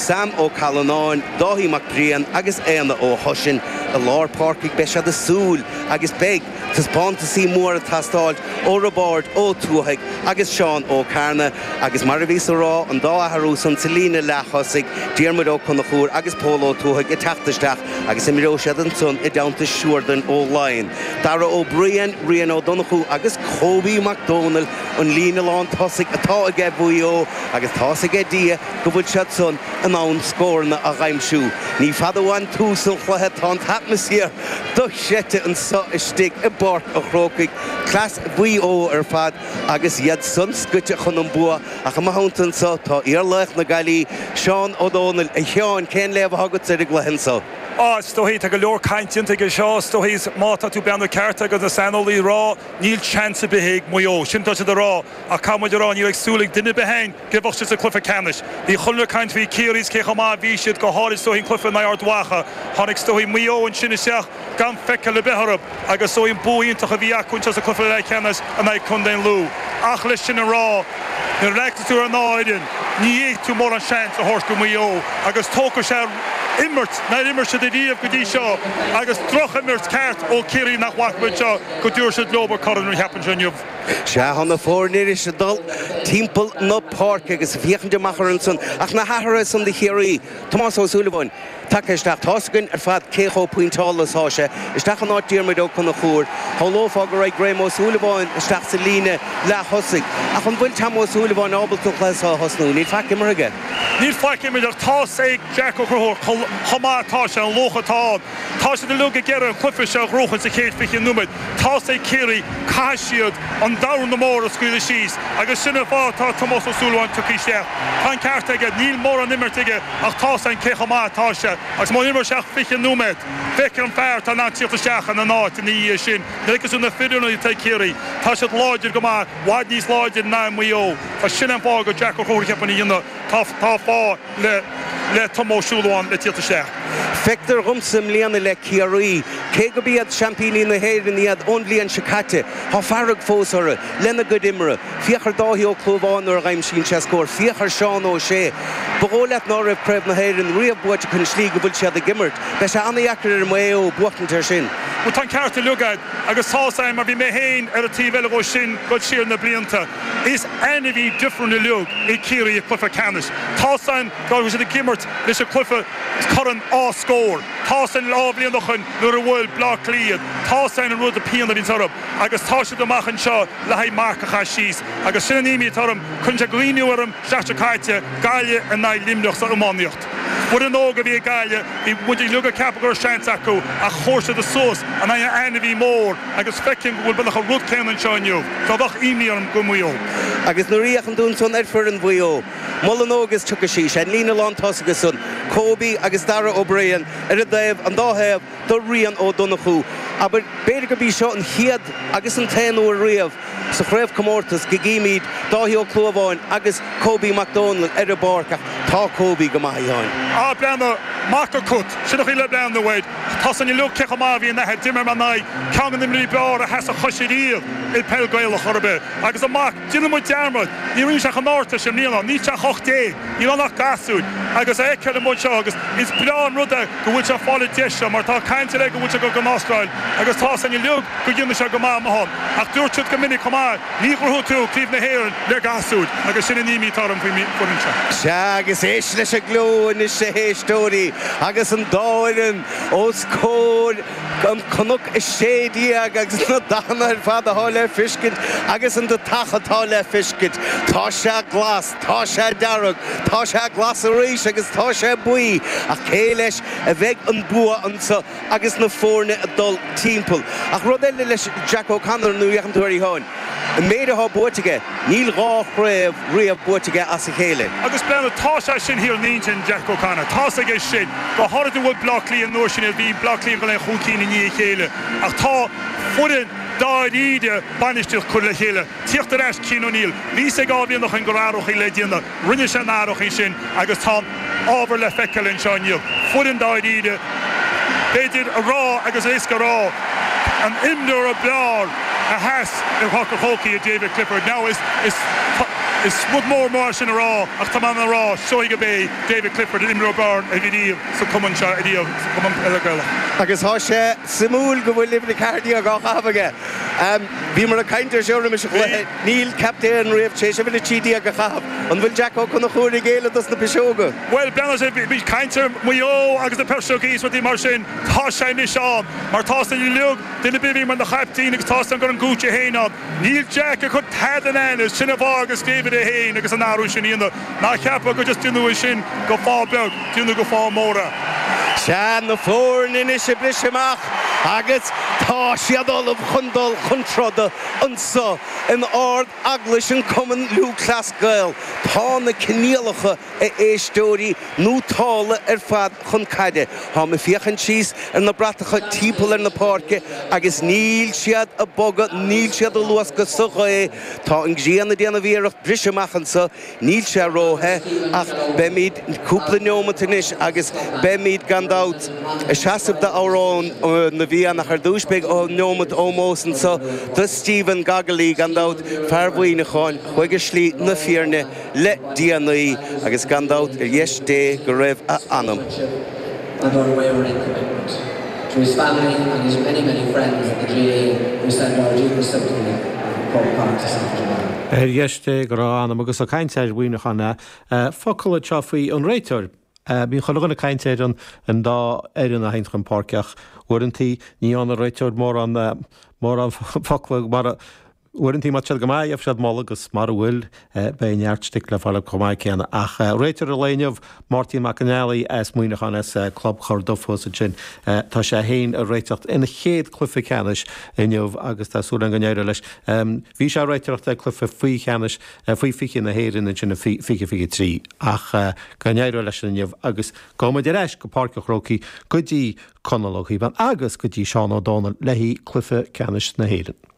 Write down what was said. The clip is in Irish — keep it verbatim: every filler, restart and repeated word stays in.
Sam Ó Callanáin, Dáithí Mac Briain agus Éanna Ó hOisín i lár páirce beidh siad ag súil agus beidh taispeántasaí mór ag teastáil ó Roibeárd Ó Tuathaigh agus Seán Ó Cearna agus mar a bhíos ag rá an dá athrú san sa líne leath-thosaigh Diarmuid Ó Conchúir agus Pól Ó Tuathaigh ag teacht isteach agus imreoidh siad ansan i dteannta Siúrdain Ó Laighin. Dara Ó Briain, Rian Ó Donnchú agus Kobe Mac Dónaill an líne lán tosaigh atá aige Mhaigh Eo agus tá's aige Dia go bhfuil siad san in ann scóranna a aimsiú. Ní fada uainn tús an chluiche tá an t-atmaisféar dochreidte anseo istigh i bPáirc an Chrócaigh, cleas Mhaigh Eo ar fad agus iad san scoite chun an bua ach i mo theannta anseo tá iarlaoch na Gaillimhe, Seán Ó Dónaill a Sheáin cén léamh atá agat ar an gcluiche anseo. Á is dóichí tá go leor cainte aige seo is dóichí má tá tú breathnú ceart agus na saineolaí rá níl seans ar bith ag Maigh Eo sin tá siad ag rá ach caithfidh muid a rá ní raibh súil ag duine ar bith againn go mbeadh siad sa cluiche ceannais. Bhí chuile caint faoi Ciarraí cé chomh maith bhí siad go háirid is dóichí an cluiche in aghaidh Ard Mhacha. Tháinig is dóichí Maigh Eo ansin isteach gan feiceáil ar bith orthu agus is dóichí an bua iontach a bhí acu anseo sa cluiche leathcheannais in aghaidh Contae an Lú. Ach leis sin a rá nuair a fhéachann tú ar an fhoireann ní fhéadfaidh tú mórán seans a thabhairt go Maigh Eo agus tógfaidh sé imirt nár imir siad ariamh go dtí seo agus drochimirt ceart ó Ciarraí nach bhfaca muid seo go dtabharfaidh siad leo an corn a cheapann sé inniu. Sea tá na foirne ag dul timpeall na páirce agus féachaint amach ar ansan ach na hathruithe san do Chiarraí Tomás Ó Súilleabháin tagtha isteach tá's againn ar fad cé chomh pointeála atá sé isteach in áit Diarmuid Ó Conchúir Shamhlófá go raibh Graham Ó Súilleabháin isteach sa líne leath-thosaigh ach an bhfuil Tom Ó Súilleabháin ábalta le thosnú níl faic imeartha aige. Níl faic imeartha tá's ag Jack Ó Conchúir chomh maith atá sé an luach atá Tá siad uilig ag iarraidh an cluiche seo a ghnóthachan sa chéad fiche nóiméad Tá's ag Ciarraí caithfidh siad an dorn mór a scaoileadh síos agus sin an fáth tá Tomás Ó Súilleabháin tugtha isteach. Tá an ceart aige níl mórán imeartha aige ach tá's againn cé chomh maith atá sé agus má imreoidh sé fiche nóiméad. Feicfidh an fear tá an tíocht isteach ina áit ina dhiaidh sin. Agus na fir atá Ciarraí Tá siad láidir go maith i bhfad níos láidir ná Maigh Eo Tá sin an fáth go Jack Ó Conchúir ceapann dhéanamh tá tá fáth le le Tom Ó Súilleabháin le tíocht isteach. Feictear dhomsa i mbliana le Ciarraí, cé gurb iad seaimpíní na hÉireann iad ón bhliain seo caite, Tá fearg fós orthu lena gcuid imeartha, Féach ar Dáithí Ó Clúmháin nuair a aimsíonn sé scór, Féach ar Seán Ó Sé. Ba dhóigh leat ná raibh Craobh na hÉireann riamh buaite chun slí go bhfuil siad ag imirt, Beidh sé an-deacair ar Mhaigh Eo buachtaint ar sin. Well tá an ceart uilig agat agus tá mar bhí mé féin ar an taobh eile dhó sin go siar na blianta. Is ainmhí difriúil uilig é Ciarraí cluiche ceannais. Tá san go siad ag imirt leis an cluiche corn á scór. Tá san dhá bhliain ó shin nuair a bhuail Bleá Cliath, tá san an rud a pian a bhí orthu agus tá siad amach anseo le haghaidh marc a chur síos agus sin an imní orm chun sé glíniú orm seachtain seo caite Gaillimh in aghaidh Luimneach sa iománaíocht. Foireann óg a bhí ag Gaillimh bhí muid uilig ag ceapadh go raibh seans acu ach chuir siad suas in aghaidh ainmhí mór agus feicim go bhfuil beagnach an rud céanna anseo inniu. Tá bheadh imní orm go Maigh Eo. Agus nuair a fhéachann tú ansan ar foireann Mhaigh Eo. Molann agus tucha sí sé líne lán tosaigh san Kobe agus Dara Ó Briain ar a dtaobh an dá thaobh do Rian Ó Donnchú. Aber b'fhéidir gurb í seo an chéad agus an t-aon uair riamh sa chraobhchomórtas go gcímid Dáithí Ó Clúmháin agus Kobe Mac Dónaill ar an bpáirc ach tá Kobe go maith ann. Á breathnú mac acu sin a le breathnú Tá san lu ce má bhí na dimmer man na ceann na imreoirí b'fhearr a sheas a chois riamh i peil Gaelach orbe agus amach déanann muid dearmad ní rinne sé an áirta sem líana ní se chocht déag ní nach gasúr agus é ce mu seo agus is breá an rud é go bhfuil sé fáil deis mar tá caint le go bhfuil sé go go Astráil agus tá san lu go dhéanann sé go maith ann ach dúirt siad go minic chomh maith ní ghnóthaíonn tú Craobh na hÉireann le gasúir agus sin an imní atá orm faoin bhfoireann seo. Sea agus éist leis an ghleo anois a éisteoirí agus an dá fhoireann os comhair an Cnoc a sé déag agus na dathanna ar fad atá le feiscint agus an deatach atá le feiscint. Tá sé glas, tá sé dearg, tá sé glas arís agus tá sé buí ach cé leis a bheidh an bua anseo agus na foirne ag dul timpeall. Ach rud eile leis Jack O'Connor nó an tuí háin. An méid atá buaite aige níl dhá chraobh riamh buaite aige as a chéile. Agus breathnú tá sé sin thiar in Jack O'Connor. Tá aige sin go háirithe bhfuil Bleá Cliath nuair sin bhí Bleá Cliath go le chun cinn i ndiaidh a chéile ach tá foireann dáiríre bainistíocht curtha le chéile. Tíocht ar ais Cian O'Neill, Bhí sé dhá bhliain ó shin gur athruithe le déanamh, rinne sé na hathruithe sin agus tá ábhar le feiceáil anseo inniu. Foireann dáiríre b'fhéidir a rá agus éasca rá an imreoir ab fhearr a sheas i Páirc an Chrócaigh David Clifford. Now is is Is rud mór mór sin a rá ach tá mé a rá seo gurb é David Clifford an imreoir ab fhearr a bhí riamh sa cumann seo riamh sa cumann peile Gaelach. Agus tá sé suimiúil go bhfuil uimhir a ceathair déag á chaitheamh aige. Bhí mar a caint ar seo roimis an chluiche níl captaen riamh tar éis uimhir a trí déag a chaitheamh. An bhfuil Jack Ó Conchúir ag géilleadh dos na piseoga? Well breathnaigh sé bhí caint ar Mhaigh Eo agus na piseogaí is rudaí mar sin tá sé anois ann mar tá san uilig duine bihí mar na chaiptín agus tá an gur an gúte héin ann. Níl Jack ag cur tada in ainnis sin an fáth agus David é féin agus an athrú sin ina ná ceapadh go just déanamh sin go fáth beag déanamh go fáth mór. Sea na foirne anois ag briseadh amach agus tá siad ullamh chun dul chun troda anseo in Ard Eaglais an Cumann Lúthchleas Gael. Tá na coinníollacha a éisteoirí nótálta ar fad chun caide. Tá mé ag féachaint síos ar na bratacha timpeall ar na páirce agus níl siad ag bogadh níl siad ag luascadh sa ghaoth Tá an ghrian ag déanamh iarracht briseadh amach anseo níl sé róthe ach beimid cúpla neomat anois agus beimid gan dabht ag seasamh d'amhrán na bhFiann ach ar dtús beidh neomat ómóis anseo do Stephen Goggley gan dabht fear Mhuineacháin chuaigh ar shlí na fírinne le déanaí agus gan dabht ar dheis Dé go raibh a anam. and unwavering commitment. To his family and his many, many friends at the GAA, we send our deepest sympathy from Croke Park this afternoon. Ar dheis Dé go raibh a anam agus ag caint ar Mhuineachán focal anseo faoi an réiteoir. Bíonn chuile dhuine ag caint ar an an dá fhoireann a théann chun páirce ach uaireanta ní an réiteoir mórán mórán focla mar uaireanta má tá siad go maith gheobhaidh siad moladh agus mura bhfuil beidh neart stick le fáil chomh maith céanna ach réiteoir an lae inniu Máirtín Mac an Ealaí as Muineachán as Club Chorduffos sin Tá sé féin ag réiteacht ina chéad cluiche ceannais inniu agus tá súil go n-éireoidh leis. Bhí sé ag réiteacht ag cluiche faoi cheannais faoi fiche na hÉireann sin fiche fiche trí ach go n-éireoidh leis inniu agus gabhfaimid ar ais go Páirc an Chrócaigh go dtí Conall Ó Cíobháin agus go dtí Seán Ó Dónaill le cluiche ceannais na hÉireann.